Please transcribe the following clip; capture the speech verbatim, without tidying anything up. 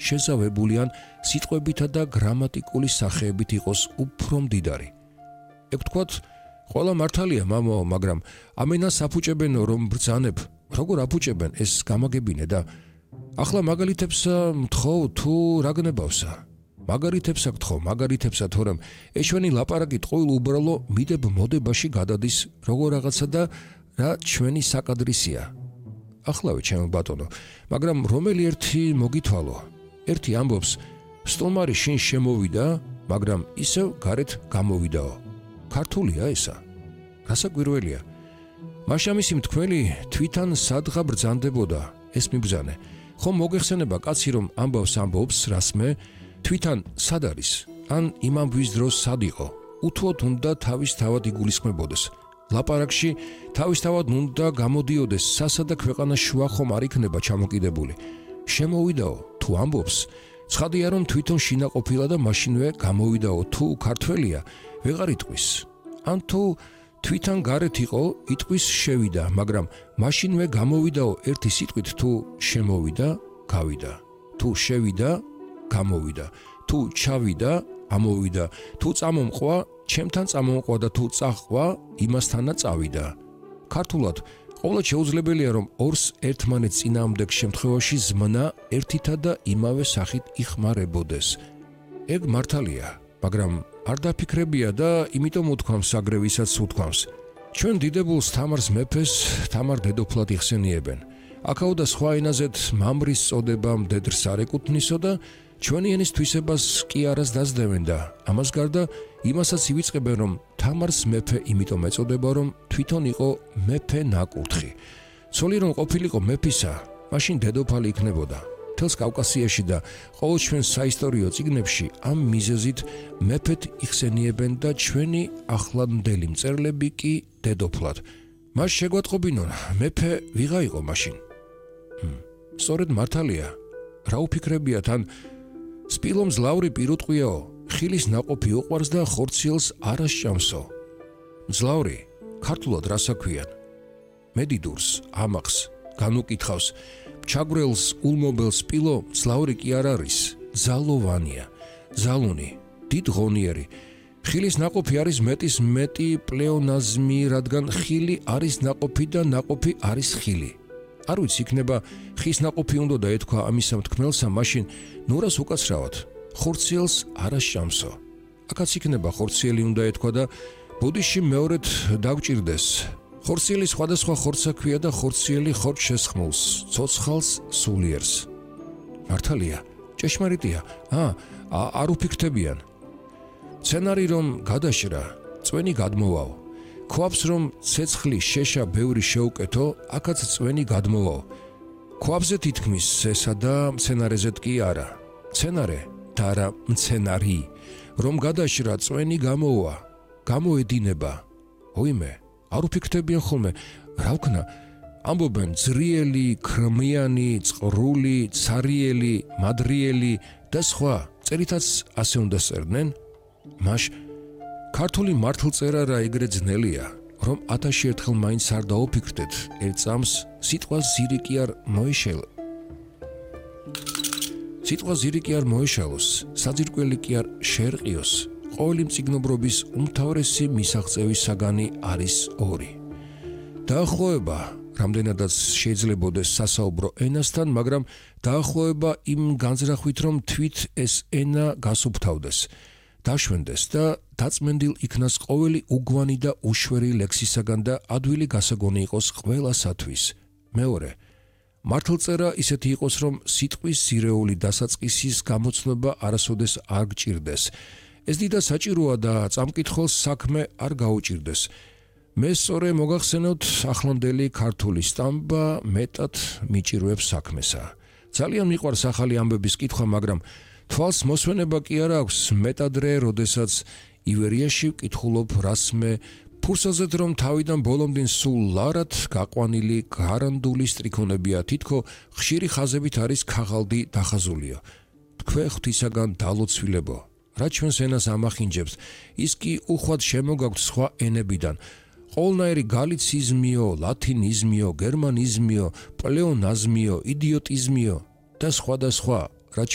შეზავებული ან სიტყვებითა და გრამატიკული სახეებით იყოს უფრო მდიდარი. ეგ ვთქვათ, ყველა მართალია, მამაო, მაგრამ ამენას აფუჭებენო, რომ ბრძანებ, როგორ აფუჭებენ, ეს გამაგებინე და ახლა მაგალითებსა მთხოვ თუ რა გნებავსა? მაგალითებსა გთხოვ, მაგალითებსა, თორემ ეშვენი ლაპარაკით ყოველ უბრალო მიდებ მოდებაში გადადის როგორ რაღაცა და რა ჩვენი საკადრისია. Ახლავე ჩემო ბატონო, მაგრამ რომელი ერთი მოგითვალო. ერთი ამბობს, სტომარი შინ შემოვიდა, მაგრამ ისევ გარეთ გამოვიდაო. ქართულია ესა. გასაკვირველია. მაშამისი მთქმელი თვითონ სადღა ბრძანდებოდა, ეს მიბრძანე. ხომ მოგეხსენება კაცი რომ ამბავს ამბობს რასმე, თვითონ სად არის? ან იმამბვის დროს სად იყო? უთუოდ უნდა თავის თავად იგულისხმებოდეს. ლაპარაკში თავისთავად უნდა გამოდიოდეს სასა და ქვეყანა შუა ხომ არ იქნება ჩამოკიდებული. შემოვიდაო, თუ ამბობს, ცხადია რომ თვითონ შინაყოფილა და მაშინვე გამოვიდაო, თუ ქართველია, ვეღარ იტყვის. ან თუ თვითონ გარეთ იყო, იტყვის შევიდა, მაგრამ მაშინვე გამოვიდაო ერთი სიტყვით თუ შემოვიდა, გავიდა. თუ შევიდა, გამოვიდა. თუ ჩავიდა, ამოვიდა. თუ წამომყვა, ჩემთან წამომყვა და თუ წაჰყვა, იმასთანა წავიდა. ქართულად ყოვლად შეუძლებელია რომ ორს ერთმანეთს წინააღმდეგ შემთხვევაში ზმნა ერთითა და იმავე სახით იხმარებოდეს. ეგ მართალია, მაგრამ არ დაფიქრებია და იმიტომ უთქვამს აგრევისაც უთქვამს. ჩვენ დიდებულს თამარს მეფეს, თამარ დედოფლად იხსენიებენ. აქაო და სხვა ენაზეთ მამრის წოდება მდედრს არ ეკუთვნისო და ჩვენი ენის თვისებას კი არას დაძდევენ და ამას გარდა იმასაც ივიწყებენ რომ თამარს მეფე იმიტომ ეწოდება რომ თვითონ იყო მეფე ნაკურთხი. ცოლი რომ ყოფილიყო მეფისა, მაშინ დედოფალი იქნებოდა. მთელს კავკასიაში და ყოველ ჩვენ საისტორიო წიგნებში ამ მიზეზით მეფეთ იხსენიებენ და ჩვენი ახლანდელი მწერლები კი დედოფლად. მას შეგვატყობინონ, მეფე ვიღა იყო მაშინ. სწორედ მართალია. რა უფიქრებიათ ან სპილო მძლავრი პირუტყვიაო, ხილის ნაყოფი უყვარს და ხორციელს არ ასჭამსო. მძლავრი, ქართულად რას აქვიან? მედიდურს, ამახს, განუკითხავს, ჩაგვრელს, ულმობელ სპილო მძლავრი კი არ არის, ძალოვანია, ძალუნი, დიდ ღონიერი. ხილის ნაყოფი არის მეტის მეტი პლეონაზმი, რადგან ხილი არის ნაყოფი და ნაყოფი არის ხილი. არ ვიცი, იქნება ხის ნაყოფი უნდა და ეთქვა ამისა მთქმელსა, მაშინ ნურას უკაცრავად, ხორციელს არ ასჭამსო. აქაც იქნება ხორციელი უნდა ეთქვა და ბუდიში მეორედ დაგჭირდეს. ხორციელი სხვადასხვა ხორცაქვია და ხორციელი ხორცს შესხმულს, ცოცხალს, სულიერს. მართალია, ჭეშმარიტია, ა, არ უფიქრდებიან. სცენარი რომ გადაშრა, წვენი გადმოვაო. ქვაბს რომ ცეცხლი შეშა ბევრი შეუკეთო, აქაც წვენი გადმოვაო. ქვაბზე თითქმის ესა და მცენარეზეთ კი არა. მცენარე და არა მცენარი, რომ გადაშრა წვენი გამოვა, გამოედინება. ოიმე, არ უფიქრდებიან ხოლმე, რა ვქნა, ამბობენ ძრიელი, ქრმიანი, წყრული, ცარიელი, მადრიელი და სხვა, წერითაც ასე უნდა წერდნენ. მაშ ქართული მართლწერა რა ეგრე ძნელია, რომ ათასში ერთხელ მაინც არ დაუფიქრდეთ, ერთ წამს სიტყვა ზირი კი არ მოეშალ. სიტყვა ზირი კი არ მოეშალოს, საძირკველი კი არ შეერყიოს. ყოველი მწიგნობრობის უმთავრესი მისაღწევის საგანი არის ორი. დაახლოება, რამდენადაც შეიძლებოდეს სასაუბრო ენასთან, მაგრამ დაახლოება იმ განზრახვით, რომ თვით ეს ენა გასუფთავდეს. დაშვენდეს და დაწმენდილ იქნას ყოველი უგვანი და უშვერი ლექსისაგან და ადვილი გასაგონი იყოს ყველასათვის. მეორე, მართლწერა ისეთი იყოს, რომ სიტყვის ზირეული დასაწყისის გამოცნობა არასოდეს არ გჭირდეს. ეს დიდად საჭიროა და წამკითხველს საქმე არ გაუჭირდეს. მე სწორე მოგახსენოთ ახლანდელი ქართული სტამბა მეტად მიჭირვებს საქმესა. ძალიან მიყვარს ახალი ამბების კითხვა, მაგრამ თვალს მოსვენება კი არ აქვს მეტადრე, როდესაც ივერიაში ვკითხულობ რასმე ფურსაზეთ რომ თავიდან ბოლომდინ სულ ლარად გაყვანილი გარანდული სტრიქონებია, თითქო ხშირი ხაზებით არის ქაღალდი დახაზულიო. თქვე ღვთისაგან დალოცვილებო, რა ჩვენს ენას ამახინჯებს, ის კი უხვად შემოგაქვთ სხვა ენებიდან. ყოველნაირი გალიციზმიო, ლათინიზმიო, გერმანიზმიო, პლეონაზმიო, იდიოტიზმიო და სხვა და სხვა.